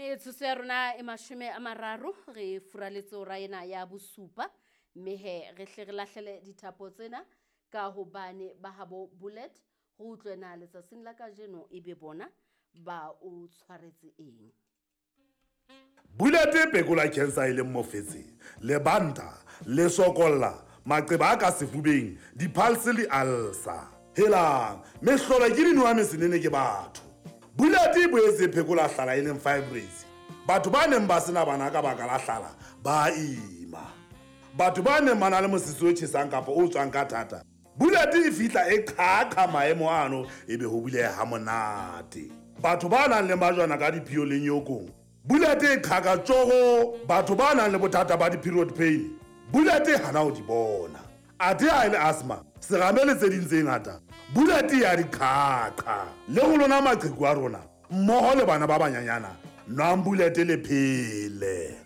Metsotso ya rona e 30 re furaletse hora ena ya bosupa, mme he re hle re lahlele dithapo tsena ka hobane ba habo Bullet go utlwe na letsatsing la kajeno e be bona ba o tshwaretse eng. Bullet e phekola cancer e leng mofetshe, lebanta, lesokolla, maqeba a ka sefubeng, di-pulse le ulcer. Helang, mehlolo ke dinowa mesenene ke batho. Bullet e boetse e phekola hlala e leng fibroids. Batho ba neng ba sena bana ka baka la hlala ba ima. Batho ba neng ba na le mosese o tjhesang kapa o tswang ka thata, Bullet e fihla e qhaqha maemo ano ebe ho buleha ha monate. Batho ba nang le majwana ka diphio le nyokong, Bullet e qhaka tjogo. Batho ba nang le bothata ba di-period pain, Bullet e hana ho di bona. Athe ha e le asthma, serame le tse ding tse ngata, Bullet ya di qhaqha. Le ho lona maqheku a rona, mmoho le bana ba banyanyana, nwang Bullet le phele.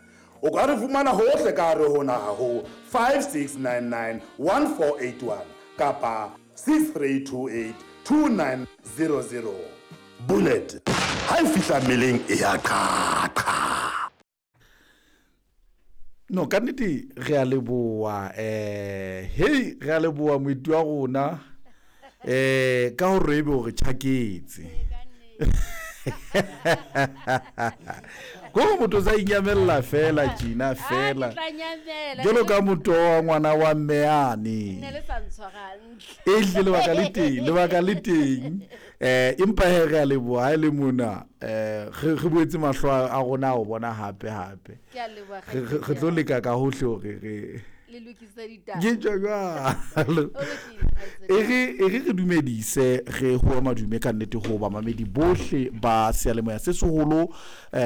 O ka re fumana hohle ka hare ho naha ho 5699 1481 kapa 6328 2900. Bullet ha e fihla mmeleng e ya qhaqha. No, ka nnete re a leboha, hei, re a leboha moeti wa rona ka hore ebe o re tjhaketse. Kore motho o sa inyamella fela tjena fela. Jwalo ka motho wa ngwana wa mme yane. Ehlile lebaka le teng, lebaka le teng. Empa he re a leboha ha e le mona, re boetse mahlo a rona a o bona hape hape. Re tlo leka ka hohle hore re le lokise ditaba. Ke tjho jwalo. E re re dumedise, re ho madume ka nnete ho bamamedi bohle ba seyalemoya se seholo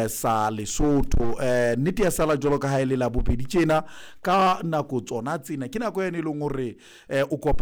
sa Lesotho. Nnete ya sala jwalo ka ha e le la bobedi tjena ka nako tsona tsena, ke nako yane e leng hore o kopa